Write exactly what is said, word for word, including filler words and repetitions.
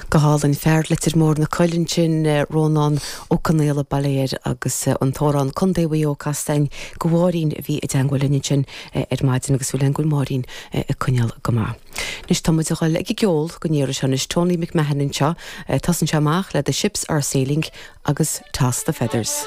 Go hálainn fear Leitir Móir na Coille sin eh, Rónán Ó Conaola Bailéir agus eh, an t-amhrán Contae Mhaigh Eo casta do Mháirín a bhí i dteagmháil linn sin eh, ar maidin agus bhfuil an ghil Máirín ag coinneáil go maith. Anois tá muid ag dul ag ceol go ndéara anois Tony McMahon anseo, tosaíonn sé amach le The Ships Are Sailing agus Toss the Feathers.